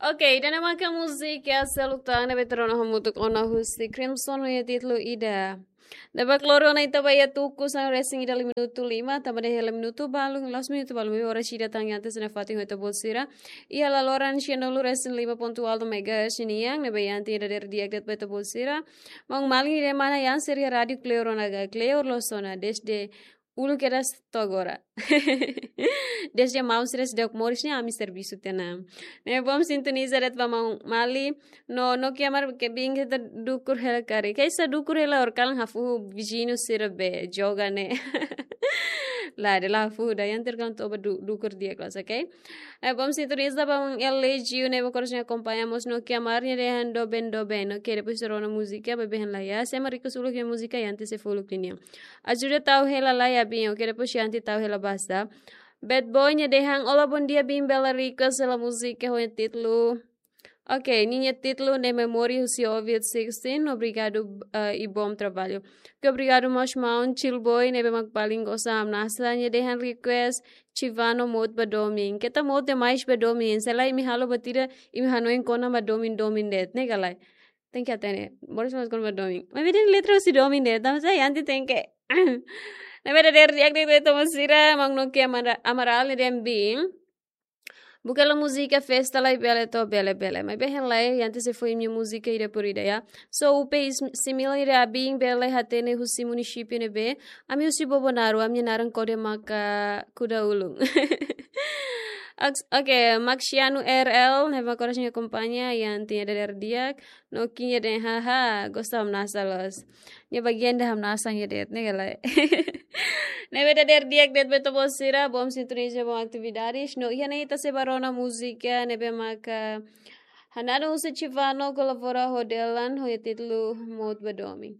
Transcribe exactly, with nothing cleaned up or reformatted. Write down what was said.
Ok, ida-ne'e maka múzika seluk tan ne'ebé ita rona hamutuk ona husi Crimson ho nia títulu Ida. Ne'ebé kloro na ita ba iha tuku sanulu-resin-ida minutu lima, tanba dehan hela minutu balun, la'ós minutu balun, maibé oras ida tan iha ita-nia fatin ho ita-boot sira. Iha laloran sianulu-resin-lima pontu ualu megahertz nian, ne'ebé iha ita dadeer di'ak de'it ba ita-boot sira. Maun Mali nia mana iha sira iha Rádiu Kleur ona ga Kleur loos ona, desde uluk kedas to'o agora. Desde maun sira seidauk moris ne'e ami servisu tiha ona. Ne'e bom sintoniza de'it ba maun Mali, no, no kiamar ke bin ke ta dukur hela karik. Ke sa dukur hela or kalan hafuhu viziñu sira be joga ne'e. Lae, dala hafuhu da iha ita kalan toba du-, dukur di'ak loos, ok? Eh, bom sintoniza ba maun L G ne'ebé koras akompaña mós no kiamar nia dehan doben doben, ok? Depois rona múzika, bebe han la iha, se ema request uluk nia múzika iha ita sei fó uluk nian. Ajuda tau hela lai abin, ok? Depois iha ita tau hela basta. Bad Boy nia dehan, olá, bom dia, bin bele request hela múzika ho nia títulu. Ok, ninia títulu ne'e Memory husi Ovid sixteen, obrigadu, eh, i bom trabalho. Ok, obrigadu mós maun Chill Boy, ne'ebé mak paling gosta hamnasa, nia dehan request Chivano Mout ba Domin. Keta mout demais ba Domin, se lae imi halo buat ida, imi hanoin kona-ba domin-domin de'it, ne'e ka lae? Tenke hatene, moris mós kona-ba domin. Maibé dehan letra husi domin de'it, tanba sá iha ita tenke. Ne'ebé dadeer di'ak de'it ba ita-boot sira, maun Nokia Amara-, Amaral nia dehan bin. Buka hela múzika festa lai bele to'o bele bele. Maibé hein lai, iha ita sei fó imi-nia múzika ida por ida, ya. So, U P is-, simila ida abin bele hatene husi munisípiu ne'ebé. Ami husi Bobonaro, ami-nia naran kode maka kuda ulun. Oks-, ok, Maxiano R L, ne'ebé koras akompaña, iha ita dadeer di'ak. No kinya den, haha, gosta hamnasa loos. Nia bagian ida hamnasa nia de'it, ne'e ka lae? Ne'ebé dadeer di'ak de'it ba ita-boot sira, bom sintoniza, bom atividades. No iha ne'e ita sei ba rona múzika, ne'ebé maka hananu husi Chivano kolabora ho Delan, ho nia títulu Mout ba Domin.